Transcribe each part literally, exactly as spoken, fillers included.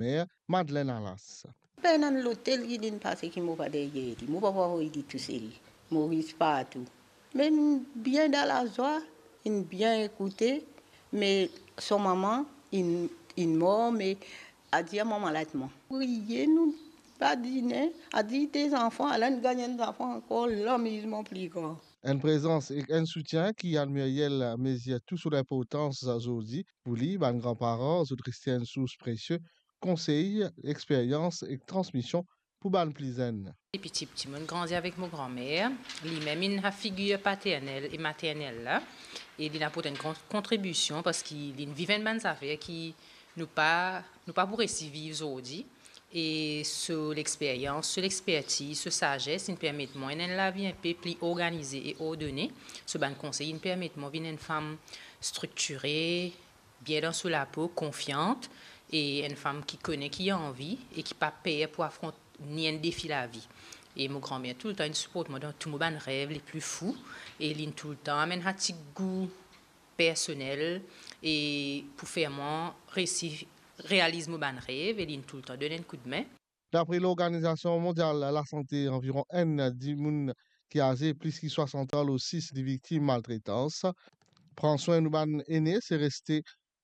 Mer, Madeleine Alas. Pena enn lotel ki linn pase ki mo pa deryer li, mo pa pou avoy li tousel. Mo riz partou. Me inn bien dan lazwa, inn bien ekoute, me so mama inn, inn mor, me adir mama latman. Priye, nou pa dine, adir de zanfan, ala inn gagn enn zanfan ankor, lamizman pli gran. Enn prezans ek enn soutien ki Anne Muriel mezir tou so linportans zordi. Pou li, bann granparan, zot reste enn sours presie konsey, experyans ek transmision pou bann pli zenn. Depi tipti, mo'nn grandi avek mo granmer. Limem inn figir paternel e maternel la, e linn aport enn gran kontribision parski linn viv enn bann zafer ki nou pa, nou pa pou resi viv zordi. E so lexperyans, so lexpertiz, so sazes, inn permet mwa ena enn lavi inpe pli organize e ordone. So bann konsey inn permet mwa vinn enn fam striktire, bien dan so lapo, konfian, e enn fam ki kone ki li anvi e ki pa per pou afront ni enn defi lavi. E mo granmer toultan inn siport mwa dan tou mo bann rev lepli fou, e linn toultan amenn sa ti gou personel e pou fer mwa resi realiz mo bann rev, e linn toultan donn enn koudme. Dapre Lorganizasion Mondial Lasante, anviron enn dimoun ki aze plis ki swasant an lor sis li viktim maltretans. Pran swin nou bann ene, se reste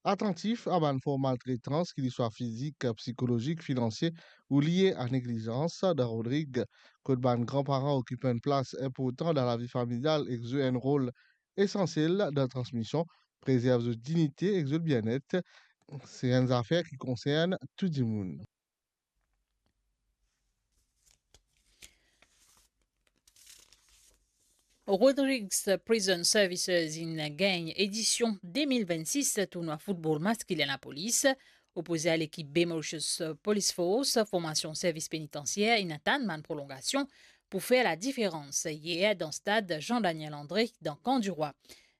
atantif a bann form maltretans, ki li swa fizik, psikolozik, finansie ou lie a neglizans. Dan Rodrig, kot bann granparan okip enn plas inportan dan lavi familial ek zwe enn rol esansiel dan transmision, prezerv zot dinite ek zot bienet, se enn zafer ki konsern tou dimoun. Rodrigues Prison Services inn gagn edision de mil vennsis tournwa foutbol maskilen lapolis. Opoze a lekip B Mauritius Police Force, formasion servis penitansier inn atann bann prolongasion pou fer ladiferans yer dan stad Jean Daniel André dan Camp du Roi.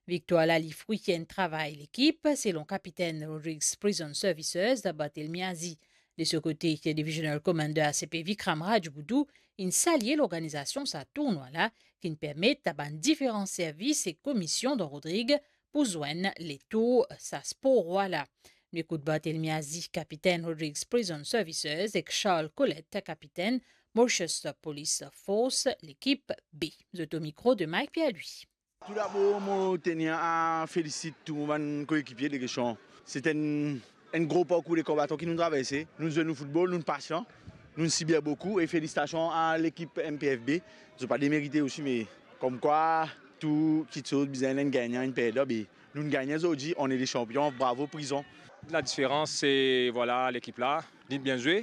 Viktwar la li frwi enn travay lekip, selon kapitenn Rodrigues Prison Services, Barthelemy Azi. De so kote, Divisional Commander A C P Vikram Rajboudou inn salie lorganizasion sa tournwa la, ki'nn permet a bann diferan servis e komisyon dan Rodrig pou zwenn letour sa spor rwa la. Nou ekout Barthelemy Azi, kapitenn Rodrigues Prison Services, ek Charles Colette, kapitenn Mauritius Police Force, lekip B. Zot o mikro de Mike Pierre-Louis. Toudabor, mo tenir a felisit tou mo bann koekipie de kestion. Se enn, enn gro parkour de konbatan ki nou traverse. Nou zwe nou foutbol, nou pasian, nou sibir boukou e felisitasion a lekip M P F B. Zot pa demerite osi, me komkwa tou kiksoz bizin enn gagnan, enn perdan, be nou gagn zordi, on est des champions, bravo Prison. Ladiferans, se, vwala, lekip la, li bien zwe.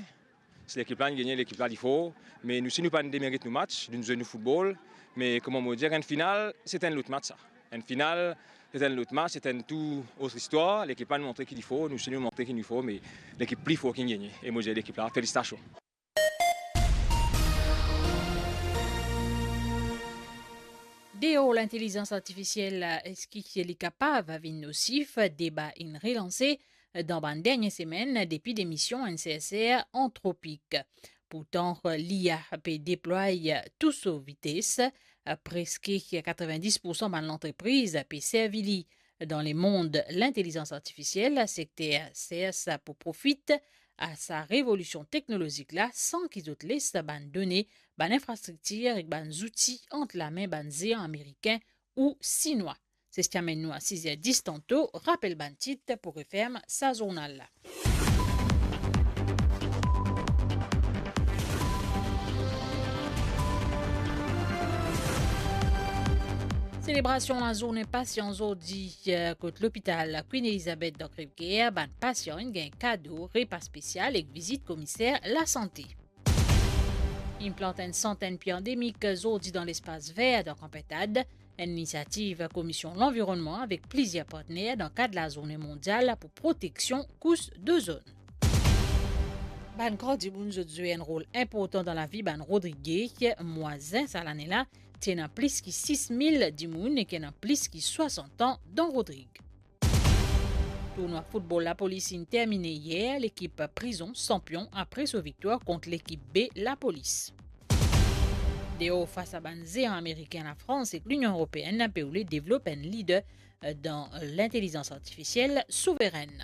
Si lekip la inn gagne, lekip la li for, me nou si nou pa demerit nou match, nou zwe nou foutbol, me kouma mo dir, enn final, se enn lot match sa. Enn final, se enn lot match, se enn tou ot istwar. Lekip la inn montre ki li for, nou si nou montre ki nou for, me lekip pli for ki inn gagne. E mo dir lekip la, felisitasion. Deor lintelizans artifisiel, eski li kapav vinn nosif? Deba inn relanse dan bann dernie semenn depi demision enn serser Anthropic. Pourtan, li a pe deplway tou so vites, preske katrevenndis poursan bann lantrepriz pe servi li. Dan lemond lintelizans artifisiel, sekter sers pou profit a sa revolision teknolozik la san ki zot les bann done, bann infrastriktir ek bann zouti ant lame bann zean amerikin ou sinwa. Se sa ki amenn nou a siz er dis tanto, rapel bann tit pou referm sa zournal la. Selebrasion lazourne pasian zordi, eh, kot lopital Queen Elizabeth dan Crèvecoeur, bann pasian inn gagn kado, repa spesial ek vizit komiser lasante. Inn plant enn santenn pie andemik zordi dan lespas ver dan Kan Pintad, enn inisiativ Komisyon Lanvironnman avek plizier partner dan kad Lazourne Mondial pou Proteksion Kous Dozonn. Bann gran dimoun zot zwe enn rol inportan dan lavi bann Rodrige. Mwa zin sa lane la, ti ena plis ki sis mil dimoun ek ena plis ki swasant an dan Rodrig. Tournwa foutbol Lapolis inn termine yer, lekip Prizon sanpion apre so viktwar kont lekip B Lapolis. Deor fas a bann zean amerikin, Lafrans ek Linion Eropeenn pe oule devlop enn lider dan lintelizans artifisiel souverenn.